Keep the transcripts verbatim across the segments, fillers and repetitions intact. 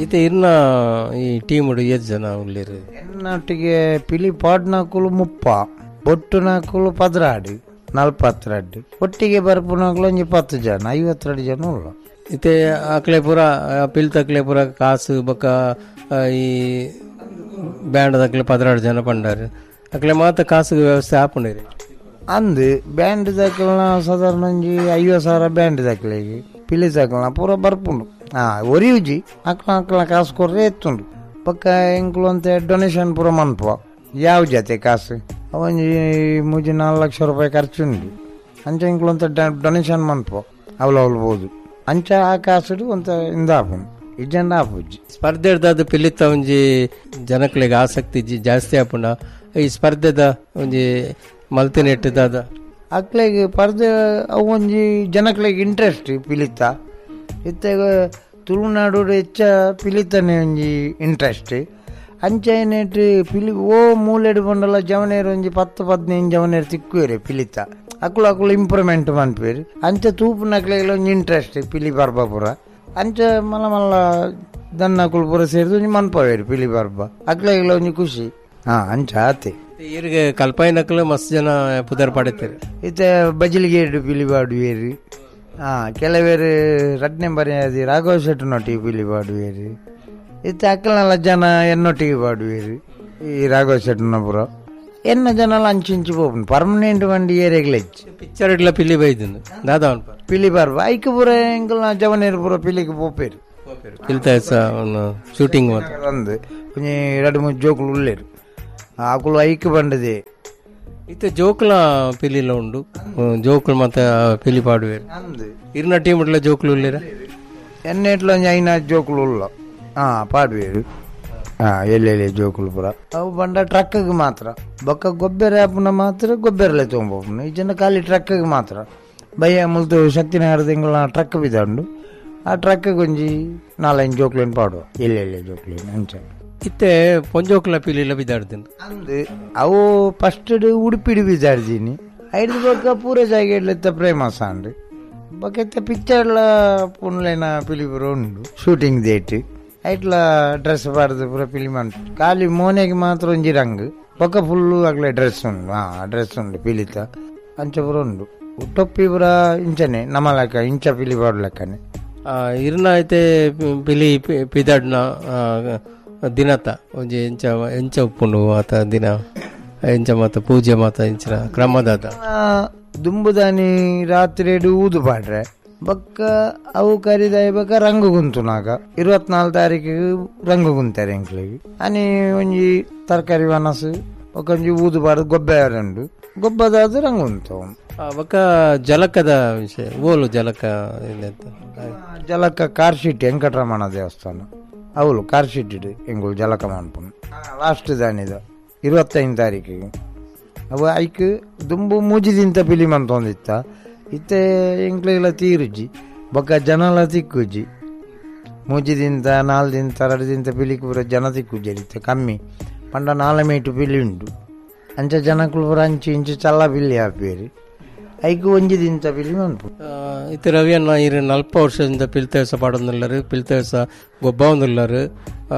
ಇತ್ತೆ ಇರ್ನ ಈ ಟೀಮ್ ಏತ್ ಜನ ಉಲ್ಲೆರ್? ಎನ್ನೊಟ್ಟಿಗೆ ಪಿಲಿ ಪಾಡ್ನಕುಲು ಮುಪ್ಪ, ಬೊಟ್ಟುನಕುಲು ಪದ್ರಾಡು, ನಲ್ಪತ್ತೆರಡು, ಒಟ್ಟಿಗೆ ಬರ್ಪುನಕುಲು ಒಂಜಿ ಪತ್ತು ಜನ, ಐವತ್ತೆರಡು ಜನ ಉಲ್ಲ. ಇತ್ತೆ ಅಕ್ಲೆ ಪೂರ ಪಿಲ್ತಕ್ಲೆ ಪೂರ ಕಾಸು ಬೊಕ್ಕ ಈ ಬ್ಯಾಂಡ್ ದಕ್ಲೆ ಪದ್ರಾಡು ಜನ ಪಂಡಾರು ಅಕ್ಲೆ ಮಾತ ಕಾಸು ವ್ಯವಸ್ಥೆ ಆಪುಂಡಿರಿ. ಅಂದು ಬ್ಯಾಂಡ್ ದಕ್ಲೆನ ಸಾಧಾರಣ ಒಂಜಿ ಐವತ್ತು ಸಾವಿರ ಬ್ಯಾಂಡ್ ದಕ್ಲೆಗೆ, ಪಿಲಿ ದಕ್ಲೆನ ಪೂರ ಬರ್ಪುಂಡು. ಹಾ ಒರಿಯುಜಿ ಅಕ್ಲ ಅಕ್ಲ ಕಾಸು ಕೊರ್ರೆ ಎತ್ತುಂಡು. ಬೊಕ್ಕ ಎಂಕುಲು ಅಂತ ಡೊನೇಷನ್ ಪೂರ ಮನ್ಪುವ ಯಾವ ಜತೆ ಕಾಸು ಒಂಜಿ ಮೂಜಿ ನಾಲ್ಕು ಲಕ್ಷ ರೂಪಾಯಿ ಖರ್ಚುಂಡು. ಅಂಚ ಎಂಕುಲು ಅಂತ ಡೊನೇಷನ್ ಮನ್ಪುವ ಅವಳು ಅವಳು ಬೋದು. ಅಂಚ ಆ ಕಾಸುಡು ಒಂತ ಇಂದಾಪುಂಡು ಇಜ್ಜಂಡ ಆಪುಜಿ. ಸ್ಪರ್ಧೆಡ್ದಾದ ಪಿಲಿತ ಒಂಜಿ ಜನಕ್ಲೆಗ್ ಆಸಕ್ತಿ ಜಾಸ್ತಿ ಆಪುಂಡ ಈ ಸ್ಪರ್ಧೆದ ಒಂಜಿ ಮಲ್ತಿನೆಟ್ಟದಾದ ಅಕ್ಲೆಗ್ ಸ್ಪರ್ಧೆ ಅವು ಒಂಜಿ ಜನಕ್ಲೆಗ್ ಇಂಟ್ರೆಸ್ಟ್ ಪಿಲಿತ. ಇತ್ತೆ ತುಳುನಾಡು ಹೆಚ್ಚ ಪಿಲಿತನೆ ಒಂಜಿ ಇಂಟ್ರೆಸ್ಟ್. ಅಂಚೆನೆಟ್ ಪಿಲಿ ಓ ಮೂಲೆಡ್ ಬಂಡಲ ಜವನೇರು ಒಂಜಿ ಪತ್ತು ಪದಿನೈದು ಜವನೇರು ತಿಕ್ಕುವೇರು ಪಿಲಿತ. ಅಕುಲು ಅಕುಲು ಇಂಪ್ರೂವ್ಮೆಂಟ್ ಮನ್ಪೇರು. ಅಂಚೆ ತೂಪುನಕ್ಲೆಗ್ ಒಂಜಿ ಇಂಟ್ರೆಸ್ಟ್ ಪಿಲಿ ಪರ್ಬ ಪೂರ. ಅಂಚೆ ಮಲ್ಲ ಮಲ್ಲ ದನ್ನಕುಲು ಪೂರ ಸೇರಿದು ಒಂಜಿ ಮನ್ಪವೇರು ಪಿಲಿ ಪರ್ಬ, ಅಕ್ಲೆಗ್ಲ ಒಂಜಿ ಖುಷಿ. ಹಾ ಅಂಚ ಆತೆ. ಈರಿಗೆ ಕಲ್ಪಾಯಿನಕ್ಲು ಮಸ್ತ್ ಜನ ಪುದರ್ ಪಡೆತೇರು. ಇತ್ತೆ ಬಜಿಲಿಗೇಡು ಪಿಲಿ ಪಾಡುವೇರು. ಹಾ ಕೆಲವೇರು ರಡ್ನೆ ಬರೆಯಾದಿ ರಾಘವ ಶೆಟ್ಟನೊಟ್ಟಿಗೆ ಪಿಲಿ ಪಾಡುವೇರು. ಇತ್ತೆ ಅಕ್ಕಲೆಲ್ಲ ಜನ ಎನ್ನೊಟ್ಟಿಗೆ ಪಾಡುವೇರು ಈ ರಾಘವ ಶೆಟ್ಟನ ಪೂರ. ಎನ್ನ ಜನಲ ಅಂಚಿಂಚಿ ಪೋಪುಂಡು ಪರ್ಮನೆಂಟ್ ಬಂಡಿ ಏರಿಯಾಗ್ಲ ಹೆಚ್ಚು. ಪಿಕ್ಚರ್ ಇಡ್ಲ ಪಿಲಿ ಬೈದು ದಾದಾ ಪಿಲಿ ಪರ್ಬ ಐಕ್ ಪೂರ ಎಂಕಲ್ನ ಜವನೇರು ಪೂರ ಪಿಲಿಗೆ ಪೋಪೇರು. ಶೂಟಿಂಗ್ ಅಂದು ಒಂಜಿ ಎರಡು ಮೂರು ಜೋಕುಲು ಉಲ್ಲೇರು ಅಕುಲು ಐಕ್ ಬಂಡದೆ. ಇತ್ತೆ ಜೋಕುಲ ಪಿಲಿಲ ಉಂಡು, ಜೋಕುಲು ಮತ್ತೆ ಪಿಲಿ ಪಾಡುವೇರು. ಇರ್ನ ಟೀಮ್ ಇಡ್ಲ ಜೋಕುಲು ಉಲ್ಲೇರ? ಎನ್ನೆಟ್ಲ ಒಂಜಿ ಐನ ಜೋಕುಲು ಉಲ್ಲ ಹಾ ಪಾಡುವೇರು. ಹಾ ಎಲ್ಲೆಲ್ಲಿ ಜೋಕುಲು ಪೂರ ಅವು ಬಂಡ ಟ್ರಕ್ಗೆ ಮಾತ್ರ. ಬೊಕ್ಕ ಗೊಬ್ಬರ ಆಪುನ ಮಾತ್ರ ಗೊಬ್ಬರಲೆ ತೊಗೊಂಬೋಪುನ. ಈ ಜನ ಖಾಲಿ ಟ್ರಕ್ಗೆ ಮಾತ್ರ. ಬಯ್ಯ ಮುಲ್ತು ಶಕ್ತಿನಗರ ತಿಂಗಳ ಟ್ರಕ್ ಬಿದ್ದುಂಡು, ಆ ಟ್ರಕ್ಗೆ ಒಂಜಿ ನಾಲೈದು ಜೋಕ್ಲೇನು ಪಾಡುವ ಎಲ್ಲೆಲ್ಲಿ ಜೋಕ್ಲೇನು ಅಂಚ. ಇತ್ತೆ ಪೊಂಜೋಕ್ಲ ಪಿಲಿಲ ಬಿದ್ದಾಡ್ತೀನಿ ಅಂದು ಅವು ಫಸ್ಟ್ ಉಡುಪಿಡು ಬಿದ್ದಾಡ್ತೀನಿ. ಐದು ಬೊಕ್ಕ ಪೂರ ಜಾಗೆಡ್ಲೆತ್ತ ಪ್ರೇಮಸ ಅಂಡು ಬೊಕ್ಕ ಇತ್ತೆ ಪಿಕ್ಚರ್ಲ ಪುನ್ಲೇನ ಪಿಲಿ ಪೂರ ಉಂಡು ಶೂಟಿಂಗ್ ಡೇಟ್. ಐಟ್ಲ ಡ್ರೆಸ್ ಪಾಡ್ದು ಪೂರ ಪಿಲಿ ಮಂಟು. ಖಾಲಿ ಮೋನೆಗೆ ಮಾತ್ರ ಒಂಜಿ ರಂಗ್, ಬೊಕ್ಕ ಫುಲ್ಲು ಅಗ್ಲೆ ಡ್ರೆಸ್ ಉಂಡು. ಹಾ ಡ್ರೆಸ್ ಉಂಡು ಪಿಲಿತ ಅಂಚ ಪೂರ ಉಂಡು. ಟೊಪ್ಪಿ ಪೂರ ಇಂಚನೆ ನಮ್ಮ ಲೆಕ್ಕ ಇಂಚ ಪಿಲಿ ಪಾಡು ಲೆಕ್ಕನೆ. ಇರ್ನ ಐತೆ ಪಿಲಿ ಪಿದಾಡ್ನ ದಿನತ ಒಂಜಿ ಎಂಚ ಎಂಚ ಉಪ್ಪುಂಡು ಆತ ದಿನ ಎಂಚ ಮಾತ ಪೂಜೆ ಮಾತ ಇಂಚಿನ ಕ್ರಮದಾದ? ದುಂಬುದಾನಿ ರಾತ್ರಿ ಊದು ಪಾಡ್ರೆ ಬೊಕ್ಕ ಅವು ಕರಿದಾಯ ಬೊಕ್ಕ ರಂಗು ಗುಂತುನಾಗ ಇರುವತ್ನಾಲ್ಕು ತಾರೀಕಿಗೆ ರಂಗು ಗುಂತಾರೆ ಎಂಕ್ಲೆಗ್. ಅನಿ ಒಂಜಿ ತರಕಾರಿ ವನಸು ಬೊಕ್ಕ ಒಂಜಿ ಊದು ಪಾಡ್ದು ಗೊಬ್ಬರ ಉಂಡು, ಗೊಬ್ಬದಾದ ರಂಗು ಗುಂತವು. ಬೊಕ್ಕ ಜಲಕದ ವಿಷಯ ಓಲು ಜಲಕ ಜಲಕ ಕಾರ್ಶಿಟ್ಟಿ ವೆಂಕಟರಮಣ ದೇವಸ್ಥಾನ ಅವಳು ಕಾರ್ಶಿಟ್ಟಿ ಎಂಗುಳು ಜಲಕ ಮನ್ಪುನು ಲಾಸ್ಟ್ ದಾನಿದ ಇರುವತ್ತೈದು ತಾರೀಕಿಗೆ. ಅವು ಐಕ್ ದುಂಬು ಮೂಜಿದಿಂತ ಪಿಲಿ ಮಂತೊಂದಿತ್ತ. ಇತ್ತೆ ಎಂಕ್ಲೆಗ್ಲ ತೀರುಜಿ ಬೊಕ್ಕ ಜನಲ ತಿಕ್ಕುಜಿ. ಮೂಜಿದಿಂತ ನಾಲ್ ದಿಂತ ಎರಡು ದಿಂತ ಪಿಲಿಕ್ ಪೂರ ಜನ ತಿಕ್ಕುಜಿ ಇತ್ತೆ ಕಮ್ಮಿ. ಪಂಡ ನಾಲ್ ಮೀಟು ಪಿಲಿ ಉಂಡು ಅಂಚ ಜನಕುಲು ಪೂರ ಅಂಚಿ ಇಂಚಿ ಚಲ್ಲ ಪಿಲಿ ಆಪೇರು. ಐಕ್ ಒಂಜಿ ದಿಂತ ಪಿಲಿ ಮನ್ಪು. ಇತ್ತೆ ರವಿಯನ್ನ ಇರು ನಲ್ಪ ವರ್ಷದಿಂದ ಪಿಲ್ತೇಸ ಪಾಡೊಂದುಲ್ಲರು, ಪಿಲ್ತೇಸ ಗೊಬ್ಬ ಒಂದುಲ್ಲರು,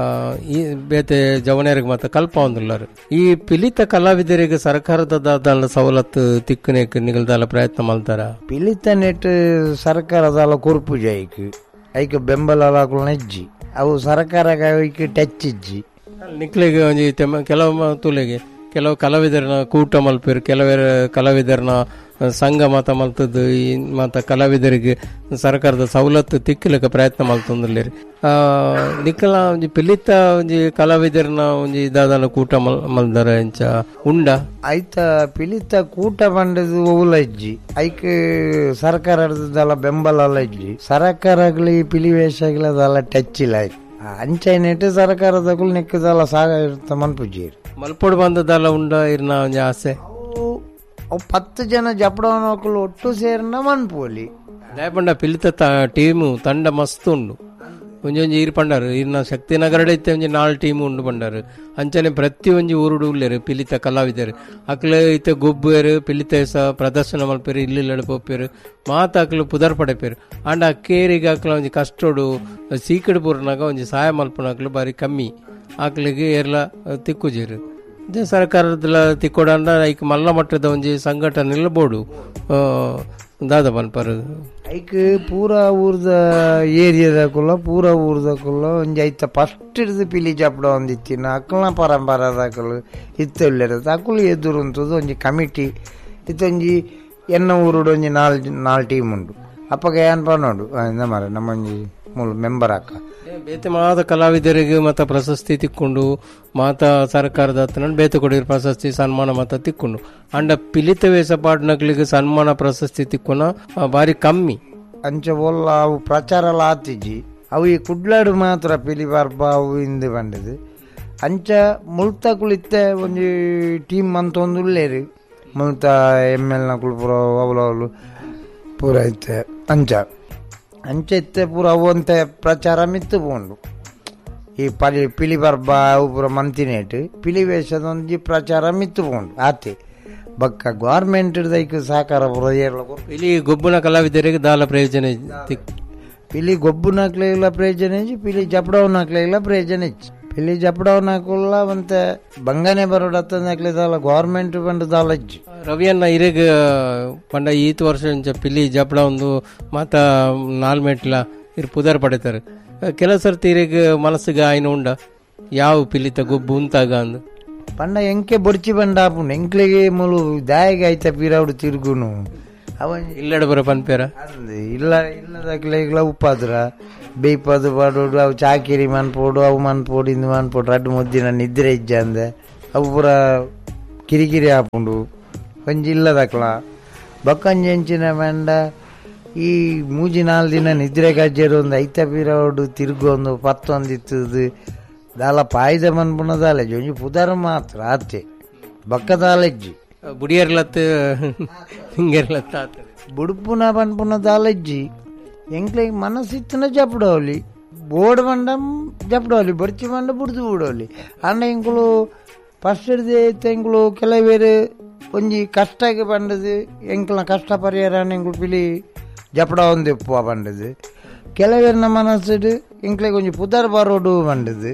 ಈ ಬೇತೆ ಜವನೇರಿಗೆ ಮಾತ್ರ ಕಲ್ಪ ಒಂದುಲ್ಲರು. ಈ ಪಿಲಿತ ಕಲಾವಿದರಿಗೆ ಸರ್ಕಾರದ ದಾದ ಸವಲತ್ತು ತಿಕ್ಕುನೇಕ್ ನಿಗಲ್ದಾಲ ಪ್ರಯತ್ನ ಮಲ್ತಾರ? ಪಿಲಿತ ನೆಟ್ ಸರ್ಕಾರದಾಲ ಕೊರ್ಪುಜಿ ಐಕ್ ಐಕ್ ಬೆಂಬಲ ನೆಜ್ಜಿ ಅವು ಸರ್ಕಾರ ಐಕ್ ಟಚ್ ಇಜ್ಜಿ. ನಿಕ್ಲೆಗ್ ಒಂಜಿ ಕೆಲವು ತುಲೆಗೆ ಕೆಲವು ಕಲಾವಿದರನ್ನ ಕೂಟ ಮಲ್ಪೇರು, ಕೆಲವರು ಕಲಾವಿದರನ್ನ ಸಂಘ ಮಾತ ಮಲ್ತದ್ದು ಈ ಮಾತ ಕಲಾವಿದರಿಗೆ ಸರ್ಕಾರದ ಸವಲತ್ತು ತಿಕ್ಕಲಿಕ್ಕೆ ಪ್ರಯತ್ನ ಮಲ್ತೊಂದುಲ್ಲೇರಿ. ನಿಕ್ಕಲ ಒಂಜಿ ಪಿಲಿತ ಒಂಜಿ ಕಲಾವಿದರನ್ನ ಒಂಜಿ ದಾದಾನ ಕೂಟ ಮಲ್ ಮಲ್ದರ ಎಂಚ ಉಂಡ? ಐತ ಪಿಲಿತ ಕೂಟ ಬಂಡದು ಒವುಲ ಇಜ್ಜಿ. ಐಕ್ ಸರ್ಕಾರದಲ್ಲ ಬೆಂಬಲ ಇಜ್ಜಿ. ಸರ್ಕಾರಗಳು ಪಿಲಿ ವೇಷಗಳದಲ್ಲ ಟಚ್ ಇಲ್ಲ. ಅಂಚೈನೆಟ್ ಸರ್ಕಾರದಗಳು ನಿಕ್ಕದಲ್ಲ ಸಾಗ ಮನ್ಪುಜಿ. ಮಲ್ಪೋಡು ಬಂದದಲ್ಲ ಉಂಡ ಇರ್ನ ಒಂಜಿ ಆಸೆ? ಅವು ಪತ್ತು ಜನ ಜಪಡವನಕುಲು ಒಟ್ಟು ಸೇರಿನ ಮನ್ಪೋಲಿ. ದಾಯಪಂಡ ಪಿಲಿತ ಟೀಮು ತಂಡ ಮಸ್ತ್ ಉಂಡು. ಒಂಜೊಂಜಿ ಈರ್ ಪಂಡಾರು ಈರ್ನ ಶಕ್ತಿನಗರಡೆ ಇತ್ತೆ ಒಂಜಿ ನಾಲ್ ಟೀಮ್ ಉಂಡು ಪಂಡಾರು. ಅಂಚನೆ ಪ್ರತಿ ಒಂಜಿ ಊರುಡು ಉಲ್ಲೇರು ಪಿಲಿತ ಕಲಾವಿದರು ಅಕ್ಲು ಇತ್ತೆ ಗೊಬ್ಬೇರು ಪಿಲಿತ ಸ ಪ್ರದರ್ಶನ ಮಲ್ಪೇರು ಇಲ್ಲಿಲ್ಲಡೆ ಪೋಪೇರು ಮಾತ ಅಕ್ಲು ಪುದರ್ ಪಡೆಪೇರು. ಆಂಡ ಕೇರಿಗೆ ಅಕ್ಲ ಒಂಜಿ ಕಷ್ಟೋಡು ಸೀಕಡ್ ಪೂರ್ನಾಗ ಒಂಜಿ ಸಹಾಯ ಮಲ್ಪುನಕ್ಲು ಬಾರಿ ಕಮ್ಮಿ ಆಕ್ಲಿಗೆ ಏರ್ಲ ತಿಕ್ಕುಜೇರು. ಸರ್ಕಾರದಲ್ಲ ತಿಕ್ಕೊಡಂಡ ಐಕ್ ಮಲ್ಲ ಮಟ್ಟದ ಒಂಜಿ ಸಂಘಟನೆ ಇಲ್ಲ ಬೋಡು ದಾದ ಪನ್ಪರು ಐಕ್ ಪೂರ ಊರ್ದ ಏರಿಯಾದಕುಲ್ಲ ಪೂರ ಊರ್ದಕುಲ್ಲ ಒಂಜಿ ಐತ ಫಸ್ಟ್ ಹಿಡ್ದು ಪಿಲಿ ಜಪಡ ಒಂದಿತ್ತಿನ ಅಕ್ಕಲ್ನ ಪರಂಪರದಕಲು ಇತ್ತ ಅಕ್ಕಲು ಎದುರು ಅಂತದ್ದು ಒಂಜಿ ಕಮಿಟಿ ಇತ್ತೊಂಜಿ ಎನ್ನ ಊರುಡು ಒಂಜಿ ನಾಲ್ ನಾಲ್ ಟೀಮ್ ಉಂಡು. ಅಪ್ಪಗ ಏನ್ ಪನ್ನೋಡು ಇಂದ ಮಾರ ನಮ್ಮೊಂಜಿ ಮೂಲ ಮೆಂಬರ್ ಅಕ್ಕ ಬೇತೆ ಮಾತ ಕಲಾವಿದರಿಗೆ ಮತ ಪ್ರಶಸ್ತಿ ತಿಕ್ಕೊಂಡು ಮಾತ ಸರ್ಕಾರದ ಹತ್ರ ಬೇತೆ ಕೊಡಿರ ಪ್ರಶಸ್ತಿ ಸನ್ಮಾನ ಮಾತ ತಿಕ್ಕೊಂಡು ಅಂಡ ಪಿಲಿತ ವೇಷ ಪಾಡ್ನಕ್ಲಿಗೆ ಸನ್ಮಾನ ಪ್ರಶಸ್ತಿ ತಿಕ್ಕೊನ ಬಾರಿ ಕಮ್ಮಿ. ಅಂಚ ಒಲ್ಲ ಅವು ಪ್ರಚಾರ ಎಲ್ಲ ಆತಿಜಿ ಅವು ಈ ಕುಡ್ಲಾಡು ಮಾತ್ರ ಪಿಲಿ ಬರ್ಬ ಅವು ಇಂದು ಬಂದದು. ಅಂಚ ಮುಲ್ತಕುಲಿತ್ತೆ ಒಂಜಿ ಟೀಮ್ ಅಂತ ಒಂದು ಉಳ್ಳೇರು ಮುಲ್ತ ಎಮ್ ಎಲ್ ನಕುಲು ಪೂರ ಅವಲು ಅವಲು ಪೂರ ಇತ್ತೆ ಅಂಚ ಅಂಚೆ ಇತ್ತೆ ಪೂರ ಅವಂತೆ ಪ್ರಚಾರ ಮಿತ್ತು ಪೋಂಡು. ಈ ಪಲಿ ಪಿಲಿ ಪರ್ಬ ಅವು ಪೂರ ಮಂತಿನೇಟ್ ಪಿಲಿ ವೇಷದ ಒಂಜಿ ಪ್ರಚಾರ ಮಿತ್ತು ಪೋಂಡು ಆತೆ ಬಕ್ಕ ಗೌರ್ಮೆಂಟ್ ದೈಕ್ ಸಹಕಾರ ಪೂರ ಏರ್ಲ ಪಿಲಿ ಗೊಬ್ಬುನ ಕಲಾವಿದರಿಗೆ ದಾಲ ಪ್ರಯೋಜನ ಪಿಲಿ ಗೊಬ್ಬುನಾಕ್ಲೆಲ್ಲ ಪ್ರಯೋಜನ ಇಜ್ಜಿ ಪಿಲಿ ಜಪಡವನಾಕ್ಲೆಲ್ಲ ಪ್ರಯೋಜನ ಇಜ್ಜಿ ಪಿಲಿ ಜಪಡವನಾಕುಲ್ಲ ಒಂತೆ ಬಂಗನೆ ಬರೋಡತ್ತಂದಾಕ್ಲೆ ದಾಲ ಗೌರ್ಮೆಂಟ್ ಬಂದು ದಾಲ ಇಜ್ಜಿ. ರವಿಯನ್ನ ಇರೆಗ್ ಪಂಡ ಈತ್ ವರ್ಷ ಇಂಚ ಪಿಲಿ ಜಪಡ ಒಂದು ಮಾತ ನಾಲ್ ಮೆಟ್ಲ ಇರ್ ಪುದರ್ ಪಡೆತಾರೆ. ಕೆಲ ಸರ್ತಿ ಇರೆಗ್ ಮನಸ್ಸಿಗೆ ಆಯ್ನ ಉಂಡ ಯಾವ ಪಿಲಿತ ಗೊಬ್ಬು ಉಂತಾಗ ಅಂದು ಪಂಡ ಎಂಕೆ ಬೊಡ್ಚಿ ಬಂಡ ಆಪುಂಡು ಎಂಕ್ಲೆಗೆ ಮುಲು ದಾಯಿಗೆ ಆಯ್ತ ಪೀರಾవుಡು ತಿರುಗುನು ಅವ ಇಲ್ಲಡ ಬರ ಪನ್ಪೇರ ಇಲ್ಲ ಇಲ್ಲದಕ್ಲೆ ಉಪ್ಪಾದ್ರ ಬೇಯ್ಪದು ಪಾಡೋಡು ಅವು ಚಾಕಿರಿ ಮನ್ಪೋಡು ಅವು ಮನ್ಪೋಡು ಇಂದು ಮನ್ಪೋಡು ರಡ್ಡು ಮುದ್ದಿನ ನಿದ್ರೆ ಇಜ್ಜ ಅಂದೆ ಅವು ಪೂರ ಕಿರಿಕಿರಿ ಆಪುಂಡು ಒಂಜಿ ಇಲ್ಲದಕ್ಲ ಬೊಕ್ಕಂಜಿ ಎಂಚಿನ ಮಂಡ ಈ ಮೂಜಿ ನಾಲ್ ದಿನ ನಿದ್ರೆ ಗಜ್ಜೆರು ಒಂದು ಐತ ಪೀರಾವುಡು ತಿರುಗೊಂದು ಪತ್ತೊಂದು ಇತ್ತದು ದಾಲ ಪಾಯ್ದ ಮನ್ಪುನ ದಾಲೆಜ್ಜಿ ಒಂಜಿ ಪುದರ್ ಮಾತ್ರ ಆತೆ ಬೊಕ್ಕ ದಾಲೆಜ್ಜಿ ಬುಡಿಯರ್ಲತ್ ಹಿಂಗೆರ್ಲತ್ತ ಬುಡುಪುನ ಪನ್ಪುನ ದಾಲೆಜ್ಜಿ ಎಂಕ್ಲೆಗ್ ಮನಸ್ಸಿತ್ತನ ಜಪಡೋಲಿ ಬೋರ್ಡ್ ಬಂಡ ಜಪಡೋಲಿ ಬೊರ್ಚಿ ಬಂಡ ಬುಡ್ದು ಬಿಡೋಲಿ. ಅಂಡ ಎಂಕುಲು ಫಸ್ಟ್ ಹಿಡ್ದು ಎಂಕುಲು ಕೆಲವೇರು ಒಂಜಿ ಕಷ್ಟಕ್ಕೆ ಬಂಡದು ಎಂಕ್ಲ ಕಷ್ಟ ಪರಿಹಾರ ಎಂಕುಲು ಪಿಲಿ ಜಪಡ ಒಂದು ಉಪ್ಪು ಬಂಡದು. ಕೆಲವೇರ್ನ ಮನಸ್ಸಿಡು ಎಂಕ್ಲೆಗ್ ಒಂಜಿ ಪುದರ್ ಬರೋಡು ಬಂಡದು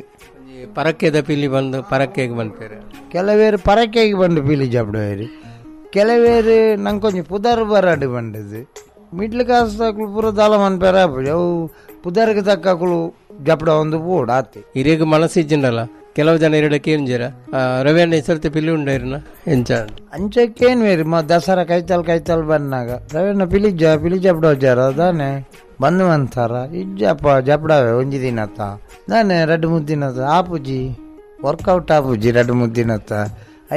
ಪರಕ್ಕೆದ ಪಿಲಿ ಬಂದು ಪರಕ್ಕೆಗೆ ಬಂದ್ಪೇರು ಕೆಲವೇರು ಪರಕ್ಕೆಗೆ ಬಂದು ಪಿಲಿ ಜಪಡೋರು ಕೆಲವೇರು ನಂಗೊಂಜಿ ಪುದರ್ ಬರಾಡು ಬಂಡದು. ಮಿಡ್ಲ್ ಕಾಸು ಪೂರ ದಾಲ ಮನ್ಪೇರ ಅವು ಪುದರ್ಗೆ ತಕ್ಕಳು ಜಪಡ ಒಂದು ಬೋರ್ಡ್ ಆತೆ ಇರೇಗ ಮನಸ್ಸು ಇಜ್ಜಿಂಡಲ್ಲ ಕೆಲವು ಜನ ಇರಡಕ್ಕೆ ಏನ್ಜರ ರವಿಯಣ್ಣ ಹೆಸರ್ತಿ ಪಿಲಿ ಉಂಡೈರ್ನ ಎಂಚ ಅಂಚಕ್ಕೇನು ಬೇರೆ ಮ ದಸರಾ ಕೈತಾಲ್ ಕೈತಾಲ್ ಬಂದಾಗ ರವಿಯಣ್ಣ ಪಿಲಿ ಜ ಪಿಲಿ ಜಪಡ ಜಾರ ದಾನೆ ಬಂದು ಅಂತಾರ ಇಜ್ಜಪ್ಪ ಜಪಡವೆ ಒಂಜಿ ದಿನತ್ತ ದಾನೆ ರಡ್ಡು ಮುದ್ದಿನತ್ತ ಆಪುಜಿ ವರ್ಕೌಟ್ ಆಪುಜಿ ರಡ್ಡು ಮುದ್ದಿನತ್ತ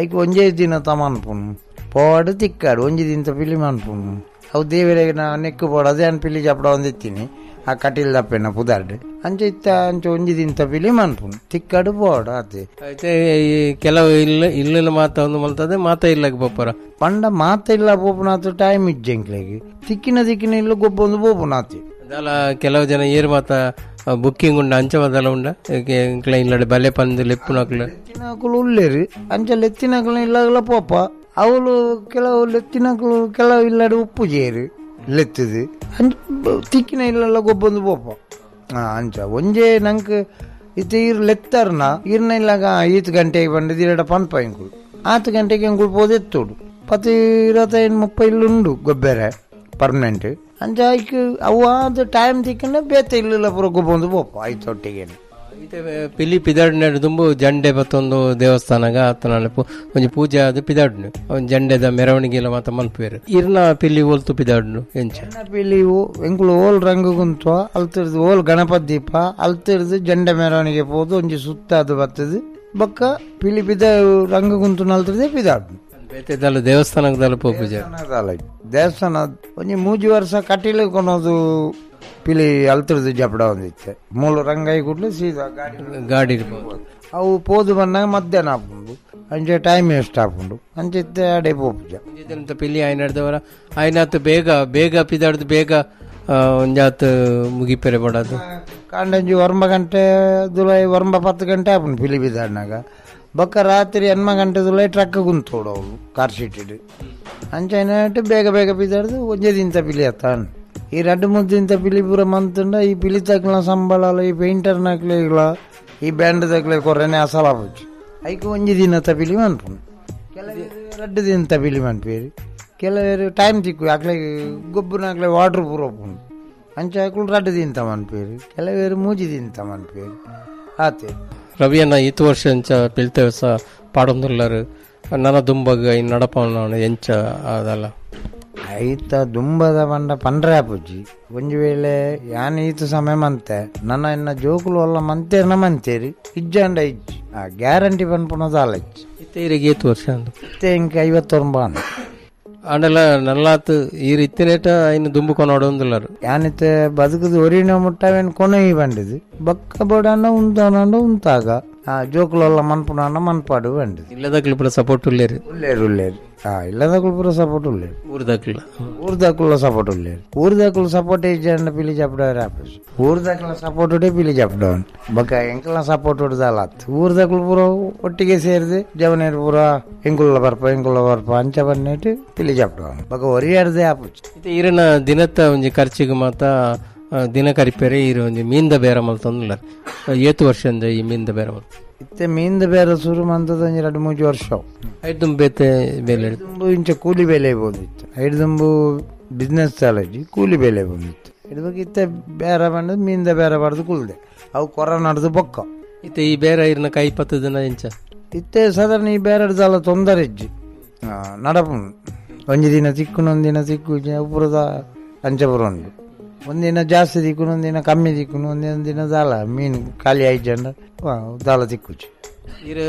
ಐಕ್ ಒಂಜೇ ದಿನ ತಮನ್ಪುನು ಪೋಡು ತಿಕ್ಕಾಡು ಒಂಜಿ ದಿನ ಪಿಲಿ ಮನ್ಪುನು ಅವು ದೇವರಿಗೆ ನಾ ನೆಕ್ಕು ಪೋಡು ಅದೇ ಅನ್ ಪಿಲಿ ಜಪಡ ಒಂದಿತ್ತೀನಿ ಆ ಕಟೀಲ್ ದಪ್ಪೆನ ಪುದಾರ್ಡ್ ಅಂಚೆ ಇತ್ತ ಅಂಚೆ ಒಂಜಿ ದಿನ ಪಿಲಿ ಮನ್ಪುನು ತಿಕ್ಕಾಡು ಪೋಡು ಅದೇ అయితే ಈ ಕೆಲವು ಇಲ್ಲ ಇಲ್ಲ ಮಾತ ಒಂದು ಮಲ್ತದೆ ಮಾತ ಇಲ್ಲಕ್ಕೆ ಪೋಪರ ಪಂಡ ಮಾತ ಇಲ್ಲ ಪೋಪುನಾತು ಟೈಮ್ ಇಜ್ಜೆ ಎಂಕ್ಲೆಗ್ ತಿಕ್ಕಿನ ತಿಕ್ಕಿನ ಇಲ್ಲ ಗೊಬ್ಬೊಂದು ಪೋಪುನಾತಿ ಅದಲ್ಲ ಕೆಲವು ಜನ ಏರ್ ಮಾತ ಬುಕ್ಕಿಂಗ್ ಉಂಡ ಅಂಚೆ ಮಾತಲ್ಲ ಉಂಡ ಇಲ್ಲಡೆ ಬಲೆ ಪಂದು ಲೆಪ್ಪುನಕ್ಲು ಲೆತ್ತಿನಕುಲು ಉಲ್ಲೇರು ಅಂಚೆ ಲೆತ್ತಿನಕುಲು ಇಲ್ಲಾಗಲ ಪೋಪ ಅವಳು ಕೆಲವು ಲೆತ್ತಿನಕುಲು ಕೆಲವು ಇಲ್ಲಡೆ ಉಪ್ಪು ಜೇರು ಲೆತ್ತದು ಅಂಚ ತಿಕ್ಕಿನ ಇಲ್ಲೆಲ್ಲ ಗೊಬ್ಬೊಂದು ಪೋಪ ಅಂಚ ಒಂಜೇ ನಂಗೆ ಇತ್ತ ಈರ್ ಲೆತ್ತಾರನ ಈರ್ನ ಇಲ್ಲಾಗ ಈತ್ ಗಂಟೆಗೆ ಬಂದದ್ದು ಎರಡ ಪನ್ಪ ಎಂಕುಲು ಆತು ಗಂಟೆಗೆ ಎಂಕುಲು ಪೋದೆತ್ತೋಡು ಪತ್ತು ಇರತ್ತೈದು ಮುಪ್ಪ ಇಲ್ಲುಂಡು ಗೊಬ್ಬೆರೆ ಪರ್ಮನೆಂಟ್ ಅಂಚ ಐಕ್ ಅವು ಅದು ಟೈಮ್ ತಿಕ್ಕಂಡ ಬೇತೆ ಇಲ್ಲ ಪೂರ ಗೊಬ್ಬೊಂದು ಪೋಪ ಐತೊಟ್ಟಿಗೆ ಇತ್ತೆ ಪಿಲಿ ಪಿದಾಡ್ನ ದುಂಬು ಜಂಡೆ ಬತ್ತೊಂದು ದೇವಸ್ಥಾನಗ ಆತನ ಒಂಜಿ ಪೂಜೆ ಅದು ಪಿದಾಡ್ನು ಒಂಜಿ ಜಂಡೆದ ಮೆರವಣಿಗೆ ಎಲ್ಲ ಮಾತ ಮಲ್ಪೇರು ಇರ್ನ ಪಿಲಿ ಓಲ್ತು ಪಿದಾಡ್ನು ಎಂಚ ಪಿಲಿ ಎಂಕುಲು ಓಲ್ ರಂಗು ಗುಂತ್ವ ಅಲ್ತಿರ್ದು ಓಲ್ ಗಣಪತಿ ದೀಪ ಅಲ್ತಿರ್ದು ಜಂಡೆ ಮೆರವಣಿಗೆ ಪೋದು ಒಂಜಿ ಸುತ್ತ ಅದು ಬರ್ತದೆ ಬೊಕ್ಕ ಪಿಲಿ ಪಿದ ರಂಗು ಗುಂತು ನಲ್ತಿರ್ದೆ ಪಿದಾಡ್ನು ಬೇತೆದಲ್ಲ ದೇವಸ್ಥಾನದಲ್ಲ ಪೂಜೆ ದೇವಸ್ಥಾನ ಒಂಜಿ ಮೂಜಿ ವರ್ಷ ಕಟೀಲು ಕೊನೋದು ಪಿಲಿ ಅಲ್ತಿರ್ದು ಜಪಡ ಒಂದಿತ್ತೆ ಮೂಲು ರಂಗಾಯಿ ಕೂಡಲೇ ಸೀದಾ ಗಾಡಿ ಗಾಡಿ ಅವು ಪೋದು ಬಂದಾಗ ಮಧ್ಯಾಹ್ನ ಆಪುಂಡು ಅಂಚೆ ಟೈಮ್ ವೇಸ್ಟ್ ಆಪುಂಡು ಅಂಚೆ ಇತ್ತೆ ಅಡೆ ಪೋಪುಜ ಪಿಲಿ ಆಯ್ನಡ್ದವರ ಆಯ್ನಾತ್ ಬೇಗ ಬೇಗ ಪಿದಾಡ್ದು ಬೇಗ ಒಂಜಾತ್ ಮುಗಿಪೆರೆ ಬಡದು ಕಾಂಡಂಜಿ ಒಂಬ ಗಂಟೆ ದುಲೈ ಒಂಬ ಪತ್ತು ಗಂಟೆ ಆಪುಂಡು ಪಿಲಿ ಬಿದಾಡ್ನಾಗ. ಬೊಕ್ಕ ರಾತ್ರಿ ಎನ್ಮ ಗಂಟೆ ದುಲೈ ಟ್ರಕ್ ಗುಂತೋಡು ಅವಳು ಕಾರ್ ಶೀಟಿಡ್. ಅಂಚೈನಟ್ಟು ಬೇಗ ಬೇಗ ಬಿದಾಡ್ದು ಒಂಜೇ ದಿಂತ ಪಿಲಿ ಅತ್ತಾನ್. ಈ ರಡ್ಡು ಮುದ್ದಿಂತ ಪಿಲಿ ಪೂರ ಮಂತುಂಡ ಈ ಪಿಲಿ ತಕ್ಲ ಸಂಬಳ ಈ ಪೇಂಟರ್ ನಕ್ಲೆಗ್ಲ ಈ ಬ್ಯಾಂಡ್ ತಕ್ಲೆ ಕೊರನೆ ಅಸಲಾಪುಜಿ. ಐಕ್ ಒಂಜಿ ದಿನತ ಪಿಲಿ ಮನ್ಪುಂಡು. ಕೆಲವರು ರಡ್ಡು ದಿನತ ಪಿಲಿ ಮನ್ಪೇರಿ, ಕೆಲವರು ಟೈಮ್ ತಿಕ್ಕು ಅಕ್ಲೆ ಗೊಬ್ಬರನಾಕ್ಲೆ ವಾಟ್ರ್ ಪೂರ ಉಪ್ಪುಂಡು ಅಂಚ ಅಕ್ಲು ರಡ್ಡು ದಿನತ ಮನ್ಪೇರಿ, ಕೆಲವರು ಮೂಜಿ ದಿನತ ಮನ್ಪೇರಿ ಆತೆ. ರವಿಯನ್ನ ಈತ ವರ್ಷ ಎಂಚ ಪಿಲ್ತೇವಸ ಪಾಡೊಂದುಲ್ಲರು ನನ್ನ ದುಂಬಗ್ ಇನ್ ನಡಪವನ ಎಂಚ ಅದಲ್ಲ ಐತ ದುಂಬದ ಪಂಡ ಪಂಡ್ರೆ ಆಪುಜಿ. ಒಂಜಿ ವೇಳೆ ಯಾನ್ ಈತ ಸಮಯ ಮಂತೆ ನನ್ನ ಇನ್ನ ಜೋಕುಲು ಅಲ್ಲ ಮಂತೇರ್ನ ಮಂತೇರಿ ಇಜ್ಜಾಂಡ ಇಜ್ಜಿ ಆ ಗ್ಯಾರಂಟಿ ಪನ್ಪುನದ ಅಲ್ಲ ಇಜ್ಜಿ. ಇತ್ತೆ ಏತು ವರ್ಷ ಅಂದು ಇತ್ತೆ ಇಂಕ ಐವತ್ತೊಂಬ ಆಂಡಲ ನಲ್ಲಾತ್ ಈ ಇತ್ತಿನೇಟ ಇನ್ನು ದುಂಬು ಕೊನೋಡೊಂದುಲ್ಲರು ಯಾನಿತ್ತೆ ಬದುಕುದು ಒರಿನ ಮುಟ್ಟವೇನು ಕೊನೆ ಬಂಡಿದು ಬಕ್ಕ ಬೋಡನ್ನ ಉಂತಾನಂಡ ಉಂತಾಗ ಆ ಜೋಕುಲಲ್ಲ ಮನ್ಪುನ ಮನ್ಪಾಡು ಬಂಡಿದು. ಇಲ್ಲದಕ್ಲು ಪೂರ ಸಪೋರ್ಟ್ ಉಲ್ಲೇರು ಉಲ್ಲೇರು ಉಲ್ಲೇರು ಆ ಇಲ್ಲದಕ್ಲು ಪೂರ ಸಪೋರ್ಟ್ ಉಲ್ಲೇರು ಊರ್ದಕ್ಲ ಊರ್ದಕ್ಲ ಸಪೋರ್ಟ್ ಉಲ್ಲೇರು ಊರ್ದಕ್ಲು ಸಪೋರ್ಟ್ ಇಜ್ಜಂಡ ಪಿಲಿ ಚಪ್ಪಡವ್ರೆ ಆಪೀಸ್ ಊರ್ದಕ್ಲ ಸಪೋರ್ಟ್ ಉಡೆ ಪಿಲಿ ಚಪ್ಪಡವನ್ ಬೊಕ್ಕ ಎಂಕಲ್ನ ಸಪೋರ್ಟ್ ಉಡ್ದಲ್ಲ ಊರ್ದಕ್ಲು ಪೂರ ಒಟ್ಟಿಗೆ ಸೇರಿದು ಜವನೇರು ಪೂರ ಎಂಕುಲ್ಲ ಬರ್ಪ ಎಂಕುಲ್ಲ ಬರ್ಪ ಅಂಚ ಬನ್ನಿಟ್ಟು ಪಿಲಿ ಚಪ್ಪಡವನ್ ಬೊಕ್ಕ ಒರಿಯಾರ್ದೆ ಆಪುಜಿ. ಇತ್ತೆ ಈರನ ದಿನತ್ತ ಒಂಜಿ ಖರ್ಚಿಗೆ ಮಾತ ದಿನ ಕರಿಪೇರೆ ಈರು ಒಂಜಿ ಮೀನ್ದ ಬೇರ ಮಲ್ತೊಂದುಲ್ಲರ್ ಏತು ವರ್ಷ ಈ ಮೀನ್ದ ಬೇರ ಮಲ್ತ ಇತ್ತೆ ಮೀನ್ದ ಬೇರೆ ಶುರು ಮಂತದ ಒಂಜಿ ಎರಡು ಮೂಜಿ ವರ್ಷ ಐದು ಬೇತೆ ಬೇಲೆ ದುಂಬು ಇಂಚ ಕೂಲಿ ಬೆಲೆ ಬಂದಿತ್ತು. ಐದು ದುಂಬು ಬಿಸ್ನೆಸ್ ಚಾಲಜಿ ಕೂಲಿ ಬೆಲೆ ಬಂದಿತ್ತು. ಇಡ್ಬೇಕು ಇತ್ತೆ ಬೇರೆ ಬಂದು ಮೀನ್ದ ಬೇರೆ ಬಾರ್ದು ಕುಲ್ದೆ ಅವು ಕೊರೋನಾಡ್ದು ಬೊಕ್ಕ. ಇತ್ತೆ ಈ ಬೇರೆ ಇರ್ನ ಕೈ ಪತ್ತು ದಿನ ಇಂಚ ಇತ್ತೆ ಸಾಧಾರಣ ಈ ಬೇರೆ ದಾಲ ತೊಂದರೆ ಇಜ್ಜಿ ನಡಪು ಒಂಜಿ ದಿನ ತಿಕ್ಕುನು ಒಂದಿನ ತಿಕ್ಕು ಉಪುರದ ಅಂಚಪುರ ಉಂಟು. ಒಂದಿನ ಜಾಸ್ತಿ ದಿಕ್ಕುನು ಒಂದಿನ ಕಮ್ಮಿ ದಿಕ್ಕುನು ಒಂದಿನ ದಿನ ದಾಲ ಮೀನು ಖಾಲಿ ಆಯ್ಜಂಡ ದಾಲ ತಿಕ್ಕುಚಿ. ಇರು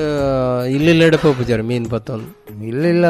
ಇಲ್ಲೆಲ್ಲ ಪೋಪುಜಾರ ಮೀನು ಪತ್ತೊಂದು ಇಲ್ಲಿಲ್ಲ.